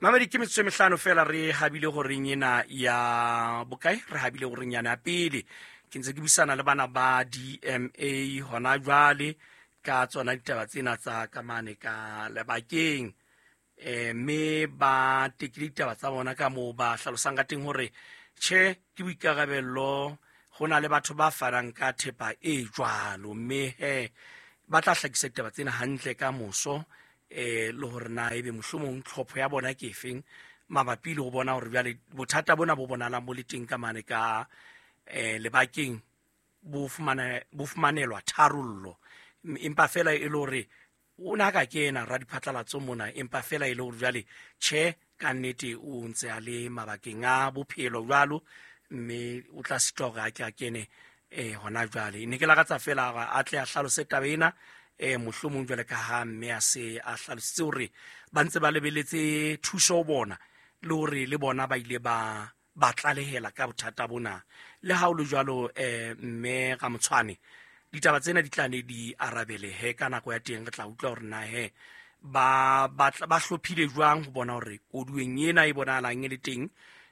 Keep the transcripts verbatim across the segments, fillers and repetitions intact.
Mamedi, ke metsotso e mehlano fela re habile horeng ena ya bokae, re habile horeng yana ya pele. Ke ntse ke buisana le bana ba D M A hona jwale ka tsona ditaba tsena tsa ka mane ka lebakeng. Eh, mme ba tekile ditaba tsa bona ka moo ba hlalosang ka teng hore tjhe ke boikarabello, ho na le batho ba fanang ka thepa e jwalo, mme he ba tla hlakisa ditaba tsena hantle ka moso, eh, le hore na ebe mohlomong tlhopho ya bona ke efeng mabapi le ho bona hore jwale bothata bona bo bonahalang bo le teng ka mane ka, eh, lebakeng bo fumana, bo fumanelwa tharollo. Empa fela e le hore o na ka kena radiphatlalatso mona, empa fela e le hore jwale tjhe ka nnete o ntse a le mabakeng a bophelo jwalo, mme o tla sitwa hore a ke a kene, eh, hona jwale. Ne ke lakatsa fela hore a tle a hlalose taba ena, eh, mohlomong jwale ka ha mme a se a hlalositse hore ba ntse ba lebeletse thuso ho bona, le hore le bona ba ile ba, ba tlalehela ka bothata bona. Le ha ho le jwalo, eh, mme Ramotshwane, ditaba tsena di tla ne di arabelehe ka nako ya teng. Re tla utlwa hore na he ba, ba tla, ba hlophile jwang ho bona hore koduweng ena e bonahalang e le teng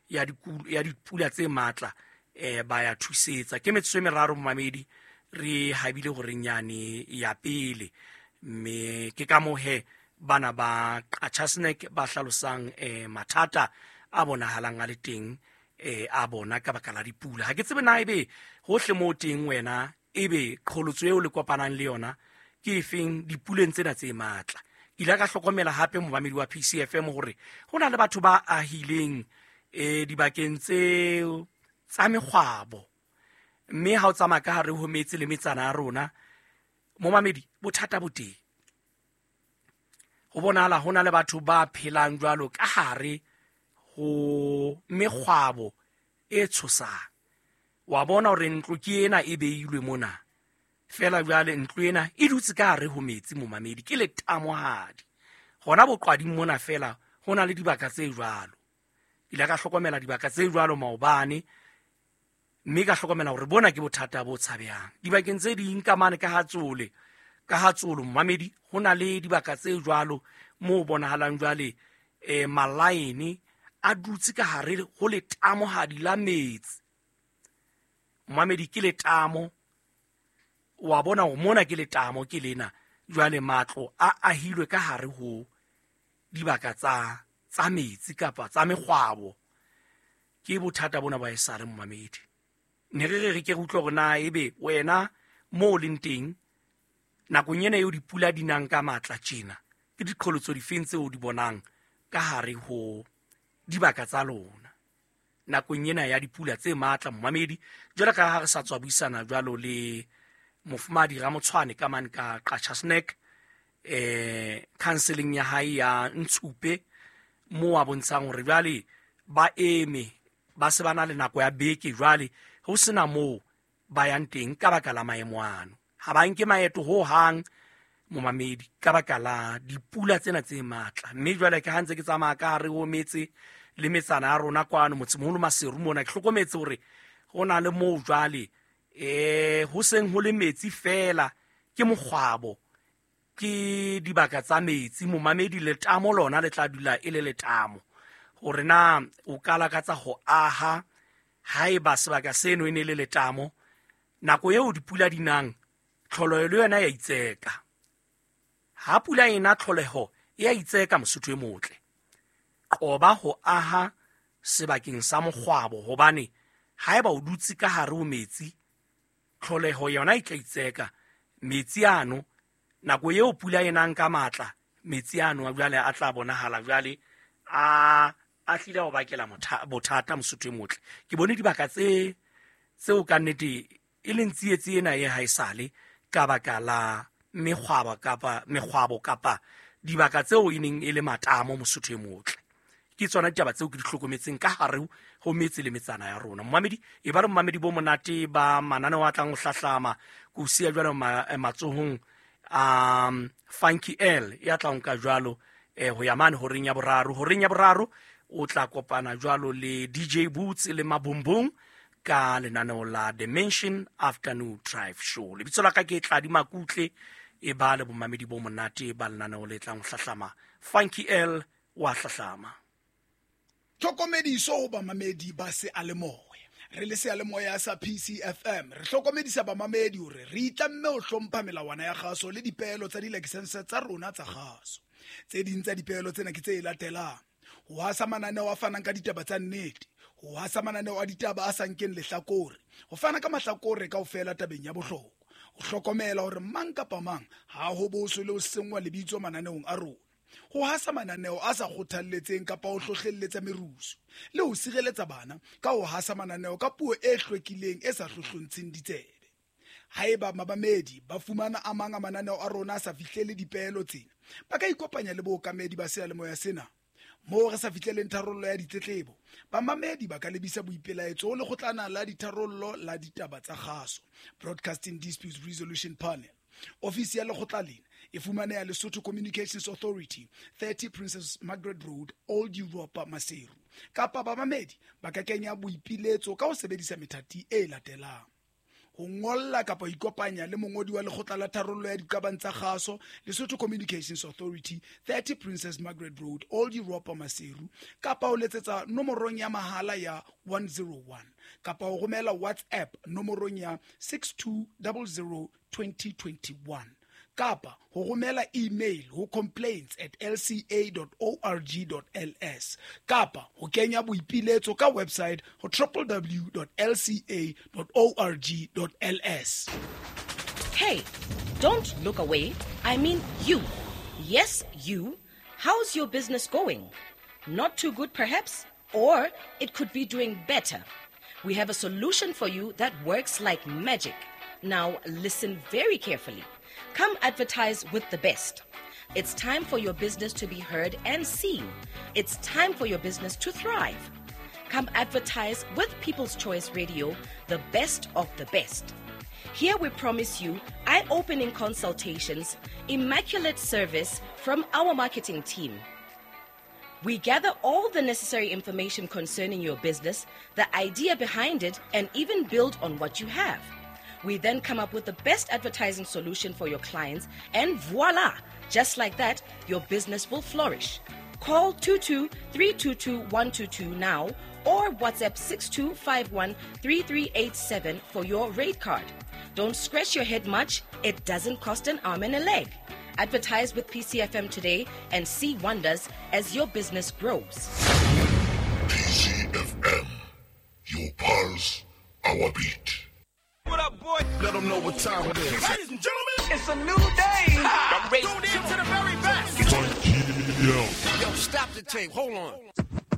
ya diku-, ya dipula tse matla, eh, ba ya thusetsa. Ke metsotso e meraro momamedi, re habile horeng yane ya pele, mme ke ka moo he bana ba Qacha's Nek ba hlalosang, eh, mathata a bonahalang a le teng, eh, a bona ka baka la dipula. Ha ke tsebe na ebe hohle moo teng wena ebe qholotso eo le kopanang le yona ke efeng dipuleng tsena tse matla. Ke ile ka hlokomela hape momamedi wa P C F M hore ho na le batho ba ahileng, eh, dibakeng tseo tsa mekgwabo, mme ha o tsamaya ka hare ho metse le metsana ya rona momamedi, bothata bo teng. Ho bonahala ho na le batho ba phelang jwalo ka hare ho mekgwabo e tshosang. Wa bona hore ntlo ke ena e beilwe mona, fela jwale ntlo ena e dutse ka hare ho metsi momamedi, ke letamohadi. Hona boqwading mona fela ho na le dibaka tse jwalo. Ke ile ka hlokomela dibaka tse jwalo maobane, mme ka hlokomela hore bona ke bothata bo tshabehang. Dibakeng tse ding ka mane ka Hatsole, ka Hatsolo momamedi, ho na le dibaka tse jwalo moo bonahalang jwale, eh, malaene a dutse ka hare ho letamohadi la metsi. Momamedi, ke letamo, wa bona hore mona ke letamo ke lena. Jwale matlo a ahilwe ka hare ho dibaka tsa, tsa metsi kapa tsa mekgwabo. Ke bothata bona ba esale momamedi. Ne re re re ke re utlwe hore na ebe wena moo o leng teng nakong ena eo dipula di nang ka matla tjena, ke diqholotso difeng tseo o di bonang ka hare ho dibaka tsa lona nakong ena ya dipula tse matla momamedi? Jwalo ka ha re sa tswa buisana jwalo le mofumahadi Ramotshwane ka mane ka Qacha's Nek, eh, counseling ya hae ya Ntshupe, moo a bontshang hore jwale ba eme, ba se ba na le nako ya beke jwale ho sena moo ba yang teng ka baka la maemo ano. Ha ba nke maeto ho hang momamedi ka baka la dipula tsena tse matla. Mme jwale ke ha ntse ke tsamaya ka hare ho metse le metsana ya rona kwano motsemoholo Maseru mona, ke hlokometse hore ho na le moo jwale, eh, ho seng ho le metsi fela, ke mokgwabo, ke dibaka tsa metsi momamedi. Letamo lona le tla dula e le letamo. Hore na o ka lakatsa ho aha haeba sebaka seno e ne le letamo, nako eo dipula di nang, tlholeho le yona ya itseka. Ha pula ena tlholeho e a itseka Mosotho e motle. Qoba ho aha sebakeng sa mokgwabo, hobane haeba o dutse ka hare ho metsi, tlholeho yona e tla itseka. Metsi ano, nako eo pula e nang ka matla, metsi ano jwale a tla bonahala jwale a, a tlile ho bakela motha-, bothata Mosotho e motle. Ke bone dibaka tse, tseo ka nnete e leng tsietsi ena e haesale ka baka la mekgwabo kapa mekgwabo kapa dibaka tseo e neng e le matamo Mosotho e motle. Ke tsona ditaba tseo ke di hlokometseng ka hare ho metse le metsana ya rona. Momamedi, e ba re momamedi bo monate ba mananeo a tlang ho hlahlama, ke o siya jwalo ma-, eh, matsohong a, um, Funky L ya tlang ka jwalo, eh, ho ya mane horeng ya boraro. Horeng ya boraro o tla kopana jwalo le D J Boots le Mabumbung ka lenaneo la Dimension Afternoon Drive Show. Lebitso la ka ke Tladi Makutle, e ba le bomamedi bo monate ba lenaneo le tlang ho hlahlama. Funky L wa hlahlama. Tlhokomediso ho bamamedi ba seyalemoya. Re le seyalemoya sa P C F M re hlokomedisa bamamedi hore re itlamme ho hlompha melawana ya kgaso le dipeelo tsa dilakesense tsa rona tsa kgaso. Tse ding tsa dipeelo tsena ke tse latelang: ho hasa mananeo a fanang ka ditaba tsa nnete, ho hasa mananeo a ditaba a sa nkeng lehlakore, ho fana ka mahlakore kaofela tabeng ya bohlokwa, ho hlokomela hore mang kapa mang ha ho boswe le ho senngwa lebitso mananeong a rona, ho hasa mananeo a sa kgothalletseng kapa ho hlohlelletsa merusu, le ho sireletsa bana ka ho hasa mananeo ka puo e hlwekileng e sa hlohlontsheng ditsebe. Haeba mabamedi ba fumana a mang a mananeo a rona a sa fihlele dipeelo tsena, ba ka ikopanya le bookamedi ba seyalemoya sena. Moo re sa fihleleng tharollo ya ditletlebo, bamamedi ba ka lebisa boipelaetso ho lekgotlana la ditharollo la ditaba tsa kgaso, Broadcasting Disputes Resolution Panel. Ofisi ya lekgotla lena e fumaneha Lesotho Communications Authority, thirty Princess Margaret Road, Old Europa, Maseru. Kapa bamamedi ba ka kenya boipiletso ka ho sebedisa methati e latelang: ho ngolla kapa ho ikopanya le mongodi wa lekgotla la tharollo ya diqabang tsa kgaso, Lesotho Communications Authority, thirty Princess Margaret Road, Old Europa, Maseru, kapa ho letsetsa nomorong ya mahala ya one zero one, kapa ho romela WhatsApp nomorong ya six two zero zero twenty twenty-one, kapa ho romela email ho complaints at l c a dot org dot l s, kapa ho kenya boipiletso ka website ho w w w dot l c a dot org dot l s. Hey, don't look away. I mean you. Yes, you. How's your business going? Not too good, perhaps? Or it could be doing better. We have a solution for you that works like magic. Now, listen very carefully. Come advertise with the best. It's time for your business to be heard and seen. It's time for your business to thrive. Come advertise with People's Choice Radio, the best of the best. Here we promise you eye-opening consultations, immaculate service from our marketing team. We gather all the necessary information concerning your business, the idea behind it, and even build on what you have. We then come up with the best advertising solution for your clients, and voila! Just like that, your business will flourish. Call two two three two two one two two now or WhatsApp six two five one three three eight seven for your rate card. Don't scratch your head much. It doesn't cost an arm and a leg. Advertise with P C F M today and see wonders as your business grows. P C F M, your pulse, our beat. What up, boy? Let them know what time it is. Ladies and gentlemen, it's a new day. I'm ready. Tune in to the very best. Yeah. Yo, stop the tape. Hold on.